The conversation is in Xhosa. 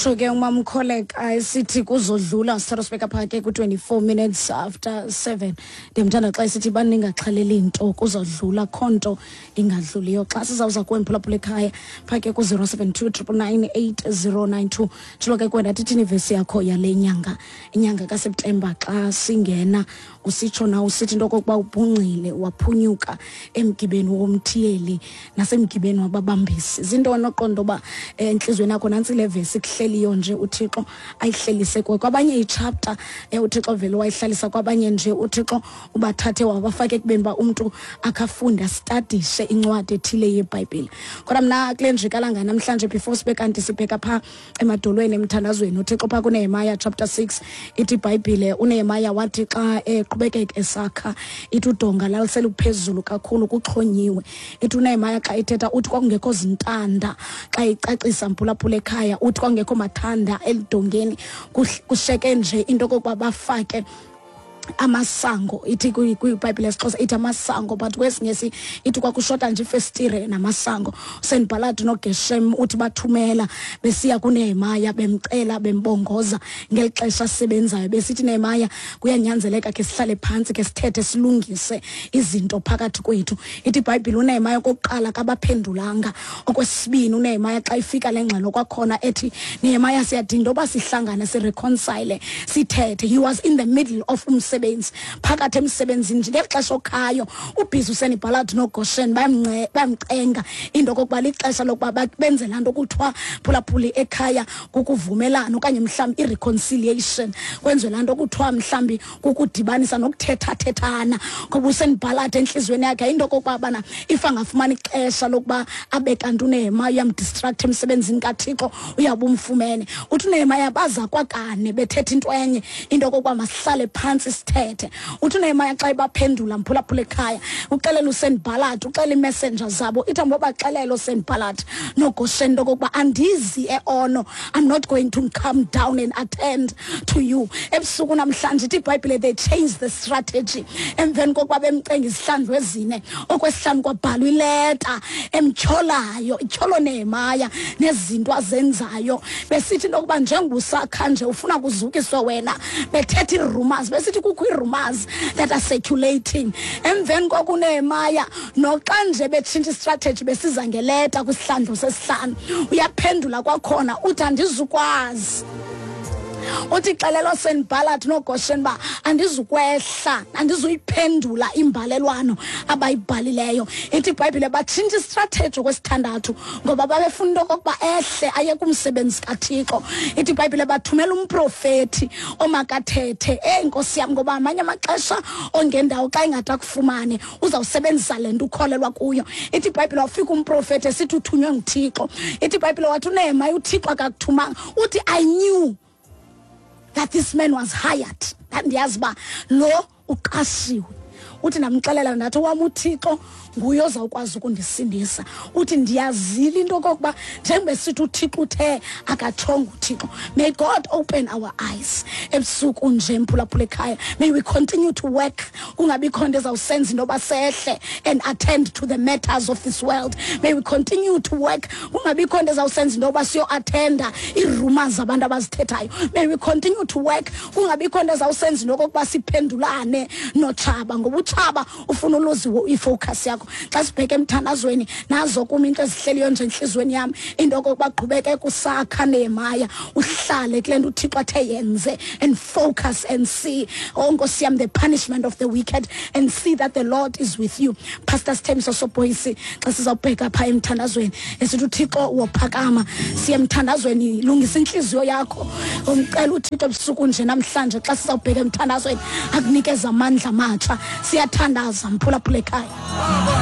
Utsho ke umamkholeka esithi kuzodlula. Sithatha sibeka phaa ke ku-24 minutes after 7. Ndiyamthanda xa esithi baningaxhaleli nto, kuzodlula, kho nto ingadluliyo. Xa sizawuza kuwe, mphulaphula ekhaya, phaa ke ku-072 999 8092, tshilo ke kwena thithini ivesi yakho yale nyanga, inyanga kaSeptemba. Xa singena usitsho na usithi into okokuba ubhungcile waphunyuka emgibeni womthiyeli nasemgibeni wababambisi? Zintoni oqonda uba entliziyweni yakho nantsi le vesi kuhleliyo nje uThixo ayihlelise kuwe? Kwabanye ichapter uThixo vele wayihlalisa, kwabanye nje uThixo ubathathe wabafake ekubeni uba umntu akhafunde, astadishe incwadi ethile yeBhayibhile. Kodwa mna kule njikalanga namhlanje, before sibe kanti sibheka phaa emadolweni emthandazweni uThixo, phaa kuNehemaya chapter 6, ithi iBhayibhile uNehemaya wathi xa eqhubekeka esakha, ithi udonga laliseluphezulu kakhulu, kuxhonyiwe. Ithi uNehemaya xa ethetha uthi kwakungekho zintanda. Xa icacisa, mphulaphula ekhaya, uthi kwakungekho mathanda elidongeni, kusheke nje into okokuba bafake amasango. Ithi kwiBhayibhile yesiXhosa ithi amasango, but kwesiNgesi ithi kwakushota nje ifestire namasango. USenibhalati noGeshem uthi bathumela besiya kuNehemaya, bemcela, bembongoza ngeli xesha asebenzayo, besithi, "Nehemaya, kuyanyanzeleka ke sihlale phantsi, ke sithethe, silungise izinto phakathi kwethu." Ithi iBhayibhile uNehemaya okokuqala kabaphendulanga. Okwesibini, uNehemaya xa ifika le ngxelo kwakhona ethi, "Nehemaya, siyadinga into yoba sihlangane, sireconcile, sithethe," he was in the middle of umsebenzi, phakathi emsebenzini nje ngeli xesha okhayo ubhizi. USenibhalati noGoshen bayamcenga into okokuba lixesha lokuba benze laa nto kuthiwa, phulaphuli ekhaya, kukuvumelana okanye mhlawumbi i-reconciliation, kwenziwe laa nto kuthiwa mhlawumbi kukudibanisa nokuthethathethana, ngoba uSenibhalati entliziyweni yakhe into okokuba bana if angafumana ixesha lokuba abe kanti uNehemaya uyamdistract emsebenzini kaThixo, uyawuba umfumene. Uthi uNehemaya baza kwakane bethetha into enye, into okokuba masihlale phantsi sithethe. Uthi uNehemaya xa ebaphendula, mphulaphula ekhaya, uxelela uSenibhalati, uxelela iimessenger zabo, ithi ambobaxelela uSenibhalati noGoshen into okokuba andizi eOno, I'm not going to come down and attend to you ebusuku namhlanje. Ithi iBhayibhile they changed the strategy emveni kokuba bemcenga izihlandlo ezine. Okwesihlanu kwabhalwa ileta emtyholayo, ityholo Nehemaya nezinto azenzayo, besithi into yokuba njengoba usakha nje ufuna kuzukiswe wena, bethetha ii-rumors, besithi kukho ii-rumors that are circulating. Emveni kokuNehemaya noxa nje betshintsha istrategy, besiza ngeleta kwisihlandlo sesihlanu, uyaphendula kwakhona, uthi andizukwazi. Uthi xelela oSenibhalathi noGoshen uba andizukwehla, andizuyiphendula imbalelwano abayibhalileyo. Ithi iBhayibhile batshintsha istrategy okwesithandathu, ngoba babefuna into okokuba ehle aye kumsebenzi kaThixo. Ithi iBhayibhile bathumela umprofethi omakathethe. Eyi nkosi yam, ngoba amanye amaxesha ongendawo xa ingade akufumane uzawusebenzisa le nto ukholelwa kuyo. Ithi iBhayibhile wafika umprofethi esithi uthunywe nguThixo. Ithi iBhayibhile wathi uNehemaya, uThixo akakuthumanga. Uthi, "I knew that this man was hired, ndandiyazi uba lo uqashiwe." Uthi ndamxelela ndathi wam uThixo nguye ozawukwazi ukundisindisa. Uthi ndiyazile into okokuba njengoba esithi uThixo uthe, akatshonga uThixo. May God open our eyes ebusuku nje, mphulaphula ekhaya. May we continue to work, kungabikho nto ezawusenza into yoba sehle and attend to the matters of this world. May we continue to work, kungabikho nto ezawusenza into yoba siyoattenda ii-rumors zabantu abazithethayo. May we continue to work, kungabikho nto ezawusenza into okokuba siphendulane notshaba, ngoba utshaba ufuna uluze ifocus yakho. Xa sibheke emthandazweni, nazo kum into ezihleliyo nje entliziyweni yam, into okokuba qhubeke kusakha, Nehemaya, uhlale kule nto uThixo athe yenze and focus and see, oh nkosi yam, the punishment of the wicked and see that the Lord is with you. Pastor Sithembiso Soboyisi, xa sizawubheka phaa emthandazweni esithi uThixo wophakama, siye emthandazweni. Lungisa intliziyo yakho, umcela uThixo ebusuku nje namhlanje xa sizawubheka emthandazweni akunikeza amandla amatsha. Siyathandaza, mphulaphula ekhaya.